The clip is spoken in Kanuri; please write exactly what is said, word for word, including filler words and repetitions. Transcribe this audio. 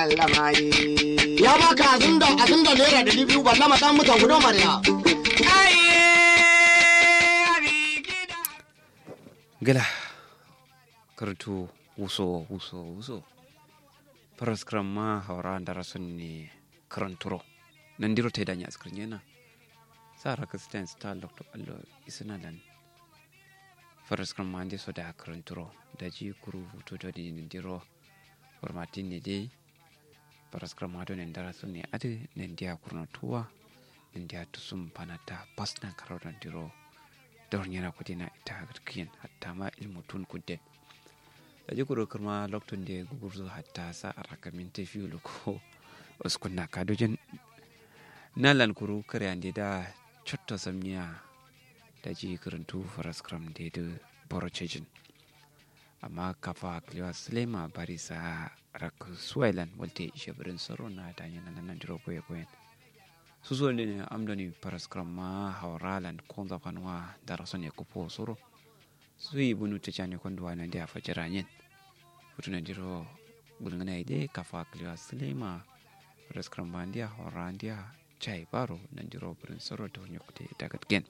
Ya baka azun da azun da naira dari biyu balla ma dan mutan gudo mariya. Gila. Kartu wuso wuso wuso. Faraskram ma haura ndara son ne karanturo. Nandiro taida nya askar nyena. Sa rakastan sta lokto allo isna lan. Faraskram ma nde so da karanturo. Daji kuru hutu doni nandiro. Warmatin ne dai. Faraskram ma doni ndara son ne adi nandiya kurno tuwa. Nandiya tusum panata pasna karo nandiro. Dor nyena kudina ita kiyen hatta ma ilmu tun kudden. Daji kuru kǝrma loktunde gugurzu hatta sa araka minti fiu luko. Uskunna kadujin. Nalan kuru kǝryande da cotto samniya. Daji kǝrǝntu faraskramde dǝ boro cejin. Amma kafa kǝlewa sǝlema bari sa rakǝ suwailan walte ishe bǝrin soro na danyena nandiro koye koyen. Susuwal dǝne amdoni faraskram ma hauralan konza fanwa daraso ne kupo soro. Suyi bunu tǝcani konduwa nandiya fajira nyen. Futu nandiro gulngǝna ide kafa kǝlewa sǝlema. Faraskram ma ndiya haura ndiya. Cai baro nandiro bǝrin soro tawunyo kute dagatgen.